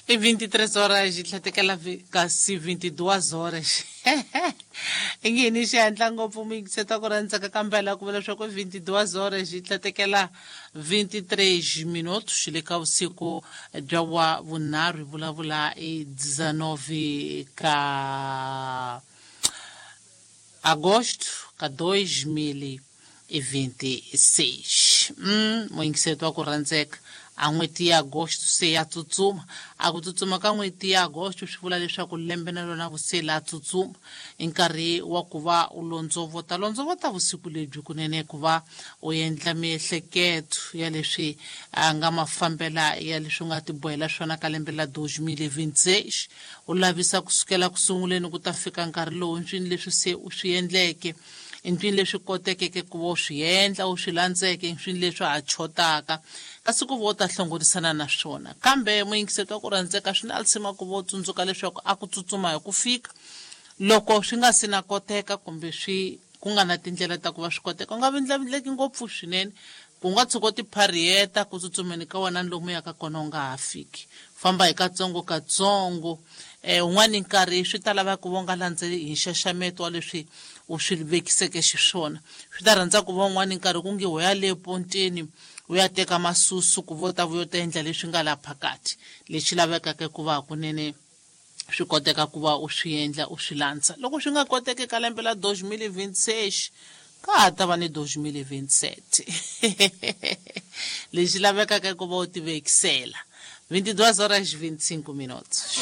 E 23 horas tlhatekela kasi 22 horas i ngi ni xihatla ngopfu mi yingiseta ku rhandzaka kambela ku vula leswaku 22 horas yi tlhatekela 23 minutos le ka vusiku bya wa vunharhu hi vulavula i 19 ka agosto ka 2026. Muyingiseto wa ku rhandzeka, a n'hweti ya agosto se ya tsutsuma. A ku tsutsuma ka n'hweti ya agosto swi vula leswaku lembe na lona vuse la tsutsuma. I nkarhi wa ku va u londzovota londzovota vusiku lebyi kunene, ku va u endla miehleketo ya leswi a nga mafambela ya leswi u nga tibohela swona ka lembe la 2026, u lavisa kusukela ku sunguleni ku ta fika nkarhi lowu ntswini leswi se u swi endleke, i leswi kotekeke ku va u swi endla, u swi landzeke, i leswi ha chotaka kasi ku va u ta hlongorisana na swona. Kambe muyingiseto wa ku rhandzeka, swi na lisima ku va u tsundzuka leswaku a ku tsutsuma hi ku fika loko swi nga si na koteka kumbe swi ku nga na tindlela ta ku va swi koteka. U nga vindlavindleki ngopfu swinene, ku nga tshuka u tipharhiyeta ku tsutsumeni ka wena, lomu yaka kona u nga ha fiki. Famba hi katsongo katsongo. Un'wani nkarhi swi ta lava ku va u nga landzeli hi nxaxameto wa leswi u swi vekiseke xiswona. Swi ta rhandza ku va un'wani nkarhi ku nge ho ya le ponteni u ya teka masusu ku vo ta vuyo ta endla leswi nga laha phakati. Lexi lavekaka ku va hakunene swi koteka ku va u swi endla, u swi landza. Loko swi nga koteki ka lembe la 2026, ka ha ta va ni 2027. Lexi lavekaka i ku va u tivekisela. 22 horas 25 minutos.